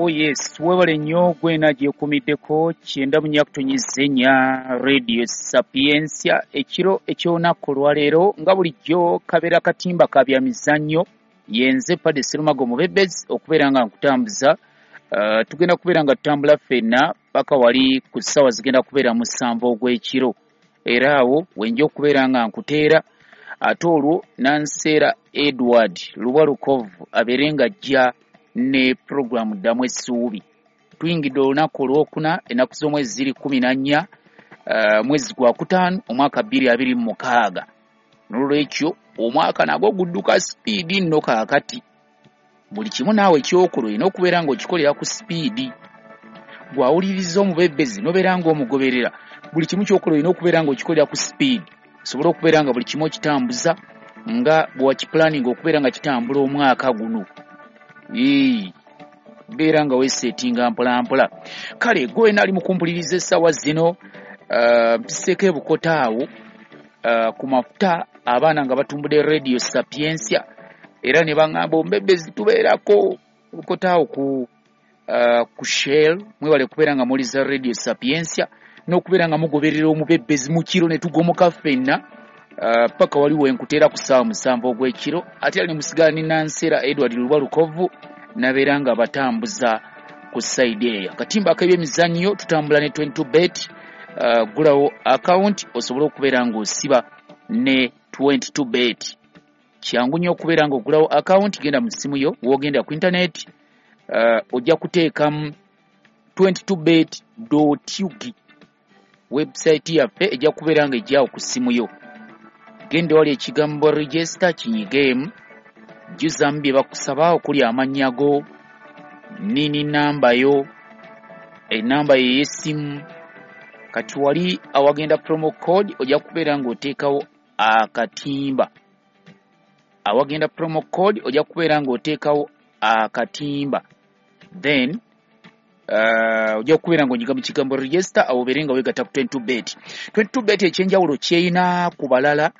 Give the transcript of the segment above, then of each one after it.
Oh yes, webale nnyo gwena gyekumiddeko 94.4 Radio Sapientia ekiro eky'olunaku olwaleero nga bulijjo kabeera katimba ka bya mizannyo. Yenze Padde Serumago Mubebezi okubeera nga nkutambuza. Tugenda kubeera nga tutambula ffenna paka wali ku ssaawa zigenda kubeera 7 ogw'ekiro, era awo wenja okubeera nga nkuteera, ate olwo Nanseera Edward Lubwa Lukovu abeere nga ajja ne puroguramu Ddamu Essuubi. Tuyingidde olunaku olwokuna, ennaku z'omwezi ziri 14, mwezi gwa 5 omwaka 2026. N'olwekyo omwaka nagwo gudduka sipiidi nno kaakati. Buli kimu naawe ky'okola olina okubeera ng'okikolera ku sipiidi. Gw'awuliriza omubebezi n'obeera ng'omugoberera, buli kimu ky'okola olina okubeera ng'okikolera ku sipiidi osobole okubeera nga buli kimu okitambuza nga bwe wakipulaninga okubeera nga kitambula omwaka guno. Beera nga weeseetinga mpola mpola. Kale gwe wena ali mu kumpuliriza essaawa zino, mpiseeko ebukota awo ku mafuta, abaana nga batumbudde Radio Sapientia era ne baŋŋamba omubebezi tubeerako ebukota awo ku Shell. Mwebale kubeera nga muwuliriza Radio Sapientia n'okubeera nga mugoberera omubebezi mu kiro ne tugomoka ffenna paka wali wenkuteera ku ssaawa 7 ogw'ekiro, ate era ne musigala ne Nanseera Edward Lubwa Lukovu nabeera nga batambuza ku sayidi eyo. Akatimba ak'ebyemizannyo tutambula ne 22 bet. Gulawo akawunti osobole okubeera ng'osiba ne 22 bet. Kyangu nnyo okubeera ng'ogulawo akawunti, genda mu ssimu yo, w'ogenda ku intaneti, ojja kuteekamu 22bet.ug. Website yaffe ejja kubeera ng'ejjaawo ku ssimu yo. Genda wali ekigambo register kinyigeemu, jjuzaamu bye bakusaba okuli amannya go, nini namba yo, enamba yo ey'essimu. Kati wali awagenda promo code ojja kubeera ng'oteekawo akatimba. Awagenda promo code ojja kubeera ng'oteekawo akatimba, then ojja kubeera ng'onyiga mu kigambo register, awo obeere nga weegatta ku 22 bet. 22 bet ekyenjawulo ky'erina ku balala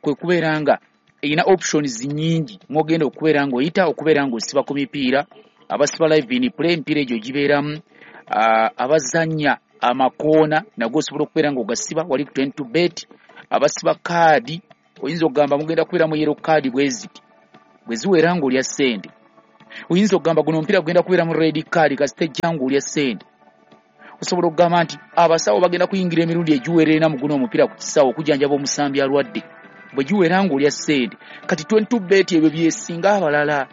kwe kubeera nga erina options nnyingi mw'ogenda okubeera ng'oyita okubeera ng'osiba ku mipiira. Abasiba live in play, emipiira egyo gibeeramu. Abazannya amakoona nago osobola okubeera ng'ogasiba wali ku 22 bet. Abasiba kaadi, oyinza okugamba mugenda kubeera mu yellow card bwe ziti, bwe ziwera ng'olya ssente. Oyinza okugamba guno omupiira gugenda kubeera mu red card, kasita ejja ng'olya ssente. Osobola okugamba nti abasawo bagenda kuyingira emirundi egiwera ena mu guno omupiira ku kisaawe okujjanjaba omusambi alwadde, bwe giwera ng'olya ssente. Kati 22 bet ebyo byesinga abalala.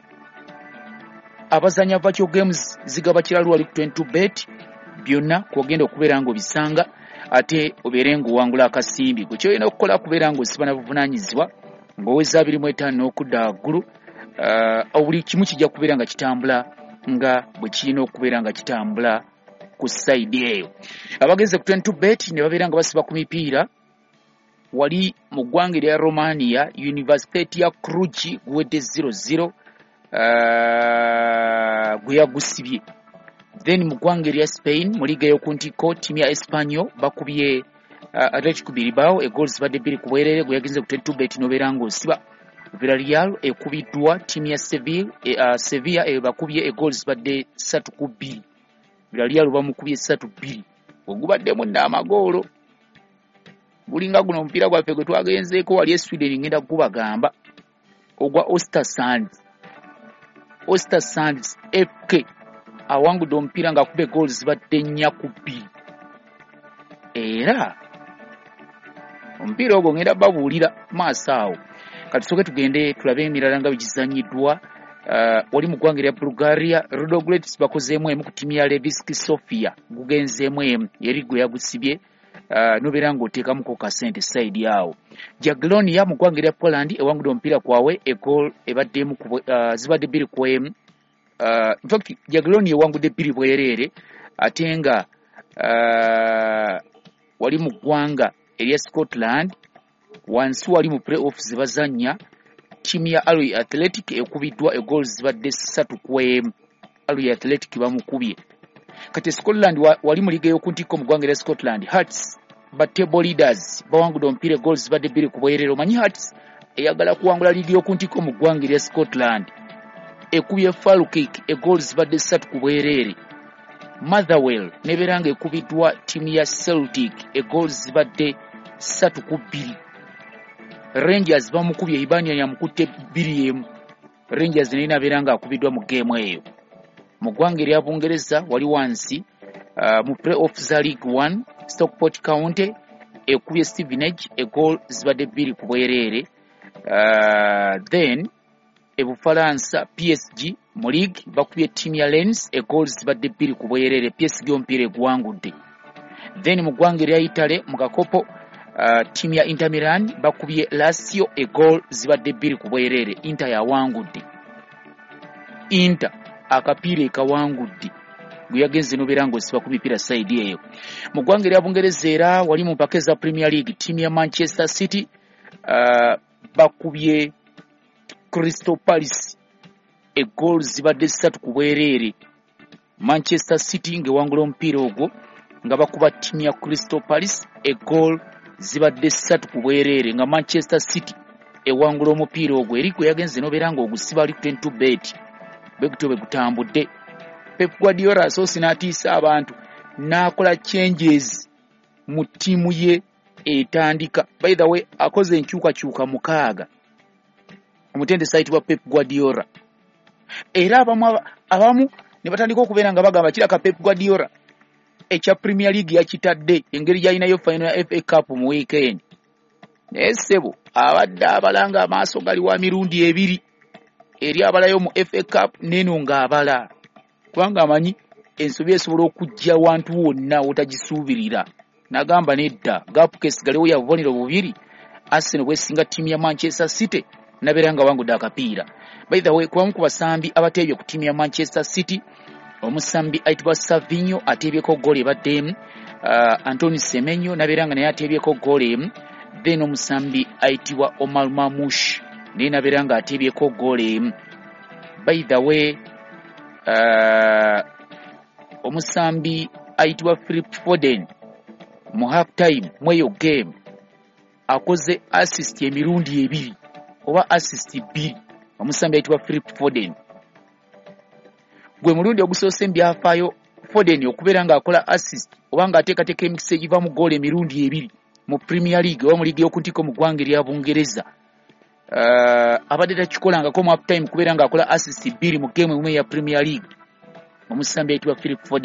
Abazannya virtual games zigaba kiralu wali ku 22 bet, byonna kw'ogenda okubeera ng'obisanga ate obeere ng'owangula akasimbi. Gwe ky'olina okukola kubeera ng'osiba na buvunaanyizibwa ng'oweza 25 n'okudda waggulu. Buli kimu kijja kubeera nga kitambula nga bwe kirina okubeera nga kitambula ku sayidi eyo. Abagenze ku 22 bet ne babeera nga basiba ku mipiira wali mu ggwanga erya Romania, University ya Cluj guwedde 0-0, gwe yagusibye. Then mu ggwanga erya Spain mu liiga ey'oku ntikko, ttiimu ya Espanyol bakubye Atletico Bilbao egoals zibadde 2-2, gwe yagenze ku 22 bet n'obeera ng'osiba. Villarreal ekubiddwa ttiimu ya Seville, Sevilla ebakubye egoals zibadde 3-2. Villarreal bamukubye 3-2. Ogubaddemu nno amagoolo. Gulinga guno omupiira gwaffe gwe twagenzeeko wali e Sweden, ngenda gubagamba ogwa Östersunds. Östersunds FK awangudde omupiira ng'akuba egoals zibadde 4-2. Era omupiira ogwo ngenda babuulira maaso awo. Kati tusooke tugende tulabe emirala nga bwe gizannyiddwa. Wali mu ggwanga erya Bulgaria, Ludogorets bakozeemu emu ku ttiimu ya Levski Sofia, gugenzeemu emu eri gwe yagusibye, n'obeera ng'oteekamuko kasente sayidi awo. Jagiellonia mu ggwanga erya Poland ewangudde omupiira kwawe, egoal ebaddemu zibadde 2-1. In fact Jagiellonia ewangudde 2-2, ate nga wali mu ggwanga erya Scotland wansi wali mu play-off ze bazannya, ttiimu ya Alloy Athletic ekubiddwa egoals zibadde 3-1. Alloy Athletic bamukubye. Kati Scotland wali mu liiga ey'oku ntikko mu ggwanga erya Scotland, Hearts ba table leaders bawangudde omupiira egoals zibadde 2-2. Omanyi Hearts eyagala kuwangula liigi y'oku ntikko mu ggwanga erya Scotland. Ekubye Falkirk egoal zibadde 3-0. Motherwell nebeera nga ekubiddwa ttiimu ya Celtic egoal zibadde 3-2. Rangers bamukubye, Hibernian yamukutte 2-1. Rangers naye nabeera nga akubiddwa mu geemu eyo. Mu ggwanga erya Bungereza wali wansi mu play-off za League One, Stockport County ekubye Stevenage egoal zibadde 2-0. Then e Bufalansa PSG mu league bakubye ttiimu ya Lens egoal zibadde 2-0. PSG omupiira eguwangudde. Then mu ggwanga erya Italy mu kakopo ttiimu ya Inter Milan bakubye Lazio egoal zibadde 2-0. Inter yawangudde. Inter akapiira ekawangudde gwe yagenze nobeera ng'osiba ku mipiira side eyo. Mu ggwanga erya Bungereza era wali mu mpaka eza Premier League, ttiimu ya Manchester City bakubye Crystal Palace egoal zibadde 3-0. Manchester City ng'ewangula omupiira ogwo nga bakuba ttiimu ya Crystal Palace egoal zibadde 3-0, nga Manchester City ewangula omupiira ogwo eri gwe yagenze nobeera ng'ogusiba ali ku 22 bet. Bwe gutyo bwe gutambudde. Pep Guardiola asoose n'atiisa abantu n'akola changes mu ttiimu ye etandika. By the way, akoze enkyukakyuka 6 omutendesi ayitibwa Pep Guardiola. Era abamu ne batandika okubeera nga bagamba kiraka Pep Guardiola ekya Premier League yakitadde engeri gy'alinayo final ya FA Cup mu weekend. Naye ssebo abadde abala nga amaaso gali wa mirundi ebiri, eri abalayo mu FA Cup n'eno ng'abala, kubanga amanyi ensobi esobola okujja wantu wonna w'otagisuubirira. N'agamba nedda, gap kesigalewo ya bubonero 2, Arsenal bwesinga ttiimu ya Manchester City nabeera nga wangudde akapiira. By the way, kubamu ku basambi abateebye ku ttiimu ya Manchester City, omusambi ayitibwa Savinho ateebyeko ggoolo ebadde emu, Anthony Semenyo nabeera nga naye ateebyeko ggoolo emu, then omusambi ayitibwa Omar Marmoush naye nabeera nga ateebyeko ggoolo emu. By the way, omusambi ayitibwa Philip Foden mu half time mweyo game akoze assist emirundi 2 oba assist 2. Omusambi ayitibwa Philip Foden gwe mulundi ogusoose mu byafaayo Foden okubeera ng'akola assist oba ng'ateekateeka emikisa egiva mu ggoolo emirundi 2 mu Premier League oba mu liigi y'oku ntikko mu ggwanga erya Bungereza. Abadde takikolangako mu half time kubeera ng'akola assist 2 mu game emu eya Premier League. Omusambi ayitibwa Philip Foden.